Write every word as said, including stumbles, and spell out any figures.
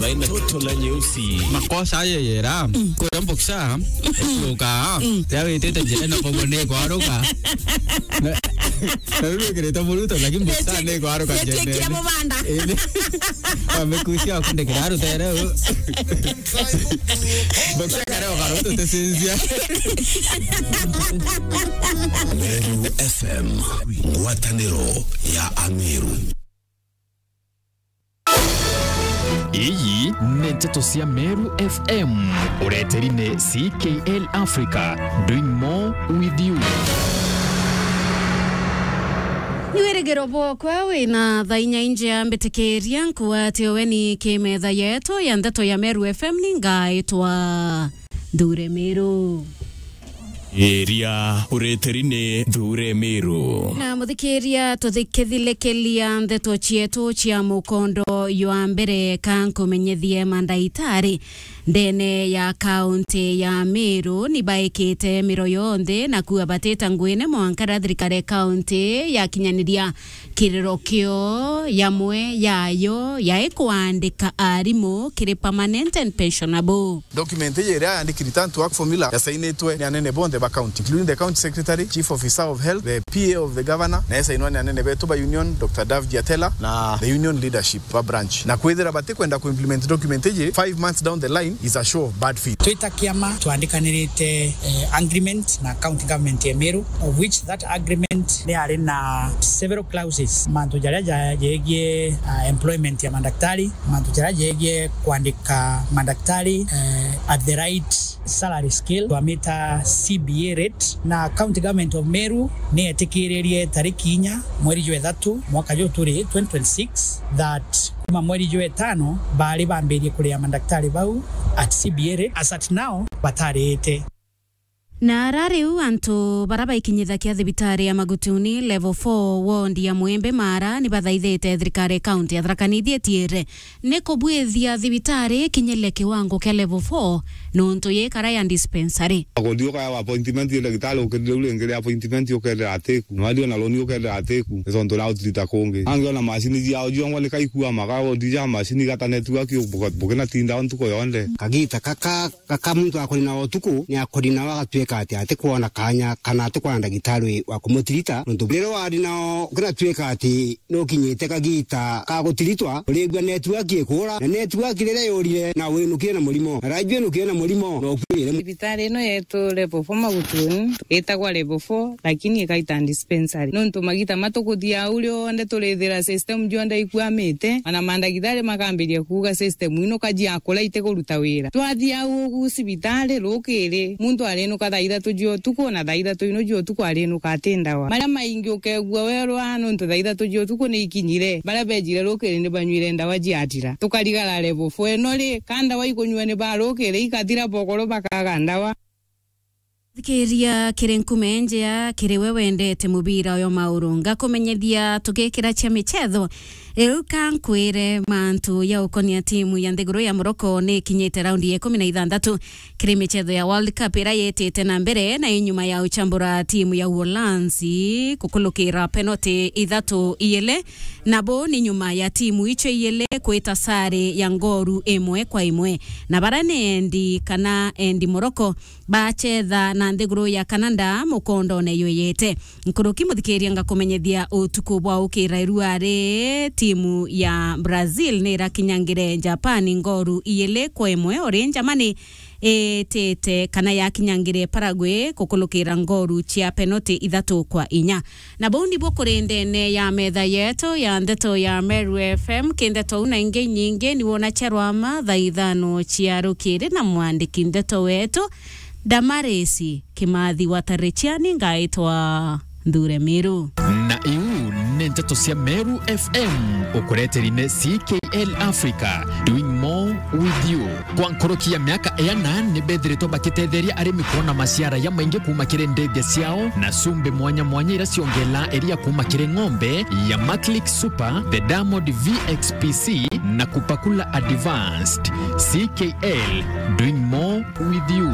Baina toto la nyeusi. Makosa ayo yera. Mm. Kuria mboksa. Mm. Kuka. Mm. Ya witite njira na bobo ni kwaruka. Na, na riu wikirite muruto, lakini mboksa ni kwaruka njira. Amekucia kundikira rutere. Mboksa kare okaruto tesinzia. Meru F M, ngwataniro ya Ameru. Iyi ni nteto cia Meru F M, ureteri ni C K L Africa, doing more with you. Ni wirigiro bwokwa wina thaa inya injea mbitikiria nkuatio weni kimetha yetu ya nteto ya Meru F M ni ngaitwa Nthure Miru. Iria ureteri ni Nthure Miru. Na muthikiria, tuthikithilikiria nteto cietu cia mukondo jwa mbere, ka nkumenyethie mandaitari ndene ya kaunti ya Miru ni baikite miro yonthe na kuua batita nguine mwanka riria thirikari ya kaunti yakinyaniria kiriro kio yamwe yayo ya ikwandika arimu kiri permanent and pensionable. Document iji iria yandiki return to work formula yasainitwe ni anene bonthe ba county, including the county secretary, chief officer of health, the P A of the governor, na yasainwa ni anene betu ba union, Doctor Dave Giatela, na the union leadership ba branch. Na kwithira batikwenda ku implement document iji, five months down the line is a show of bad faith. Twita kiama twandikanirite, eh, agreement na county government ya Meru, of which that agreement ni yari na several clauses, mantu jaria ja-, jegie, ah, employment ya madaktari, mantu jaria jegie kwandika madaktari, eh, at the right salary scale, twamita C B A rate, na county government of Meru ni yetikiririe tariki inya mweri jwa ithatu mwaka juu turi twenty twenty-six, that kuma mweri jwa itano bari bambirie kuria madaktari bau at C B A rate. As at now, batarite. Na ara riu antu bara baikinyithakia thibitari ya Magutuni level four ward ya Mwembe Mara ni bathaithite thirikari ya kaunti ya Tharaka Nithi itiire ni kubwithia thibitari ikinyire kiwango kia level four nuntu yikara ya dispensary. Akothi ukaya appointment ya ndagitari ukirire u ringi ria appointment ukerira atiku. Na wathi ona runi ukerira atiku. Ni tontu na utirita kungi. Angi ona macini ciao ciongwa ni kaikua maka wodi ja macini igata network buke-, bukinatinda o ntuku yonthe. Kagita kaka Gaka muntu akori nao utuku, ni akori nao agatuika ati atikwona kanya kana atikwona ndagitari wa kumutirita, nontu riria wari nao, ukinatuika ati nukinyite kagita ka gutiritwa, urigua network ikura, na network riria yurire, na winukire na murimo, na raju winukire na murimo, na ukuire. Thibitari ino yetu level four Magutuni, itagwa level four, lakini ikaita dispensary. Nontu magita matukuthia au rionthe turithira system jonthe ikwamite, ona mandagitari makambiria kuuga system ino kaji akura itikuruta wira. Twathia au ugu cibitari rukiri, muntu arinuka thaa ithatu cia utuku, na thaa ithatu ino cia utuku arinuka ati ndawa. Maria maingi ukegua werwa nontu thaa ithatu cia utuku ni ikinyire. Baria bejire rukiri ni banyuire ndawa ciathira. Tukarigara level four ino ri, ka ndawa ikunyua ni ba rukiri ikathira bokoro bakaga ndawa. Thikiria kiri nkume njea, kiri we wendete mubira uyo mauru. Ngakumenyethia tugikira cia michetho. Riu ka nkwire mantu ya ukonia timu ya nthiguru ya Morocco ni ikinyite raundi ya ikumi na ithanthatu kiri michetho ya World Cup iria yitite na mbere, na inyuma ya uchambura timu ya Uholanzi kukulukira penalty ithatu iile, nabo ni nyuma ya timu icio iile kwita sare ya ngoru imwe kwa imwe. Na bara ni endi kana endi Morocco bachetha na nthiguru ya Canada mukondone yuyite. Nkuruki muthikiria, ngakumenyethia utuku bwa ukira irua ri timu ya Brazil ni irakinyangire Japan ngoru iili kwa imwe, uri Germany itite kana yakinyangire Paraguay kukulukira ngoru cia penalty ithatu kwa inya. Na bau nibo kuri ndene ya metha yetu ya ndeto ya Meru F M. Ki ndeto u na ingi inyingi ni wona cia rwama thaa ithano cia rukiri na mwandiki ndeto wetu Damaris Kimathi wa Tarichiani, ngaitwa Nthure Miru. Na iu ni ndeto cia Meru F M, ukureteri ni C K L Africa, doing more with you. Kwa nkuruki ya miaka iana, ni bethiritwe bakitetheria arimi kuona maciara ya maingi kuuma kiri ndege ciao na cumbi mwanya mwanya iria ciongelaa iria kuuma kiri ng'ombe ya Maclick Super, the Diamond V X P C na Kupakula Advanced. C K L, doing more with you.